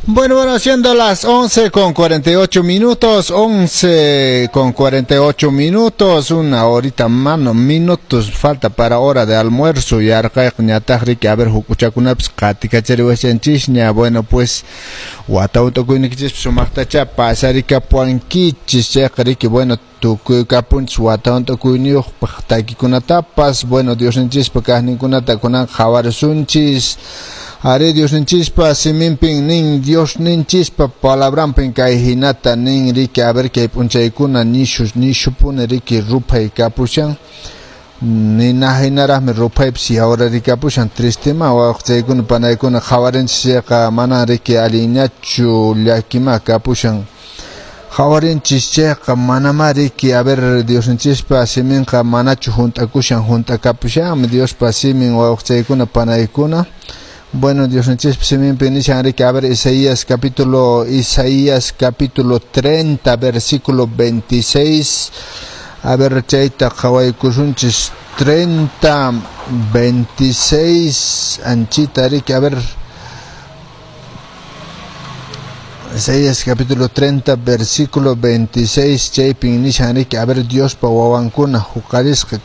Bueno, siendo las 11:48 minutos, 11:48 minutos, una horita mano, minutos falta para hora de almuerzo, yarqayqa riki, a ver, hukuchakunapas qatikachariwashanchisña. Bueno, pues, wata hunt'akuyniykichispas sumaqtacha pasarikapuwankichis, chayqa riki, bueno, tukuy kapunchis wata hunt'akuyniyuqpaq takikunatapas. Bueno, Diosninchispa kaqninkunata kunan qhawarisunchis. Ari, Diosninchispa siminpin nin, Diosninchispa palabranpin kay hinata nin, riki, a ver, kay p'unchaykuna nishu nishupuni riki ruphay kapushan, nina hinaraqmi ruphaypis yawrarikapushan, tristima wawqichaykuna panaykuna qhawarinchis chayqa manan riki allinñachu, llakima kapushan. Qhawarinchis chayqa manamá riki, a ver, Diosninchispa siminqa manachu hunt'akushan, hunt'akapushanmi Diospa simin, wawqichaykuna panaykuna. Bueno, Diosninchispa siminpi nishan riki, a ver, Isaías capítulo 30, versículo 26. A ver, chayta qhawaykusunchis, 30, 26, anchita riki, a ver, Isaías capítulo 30, versículo 26, chaypin nishan riki, a ver, Diospa wawankuna huqarisqa.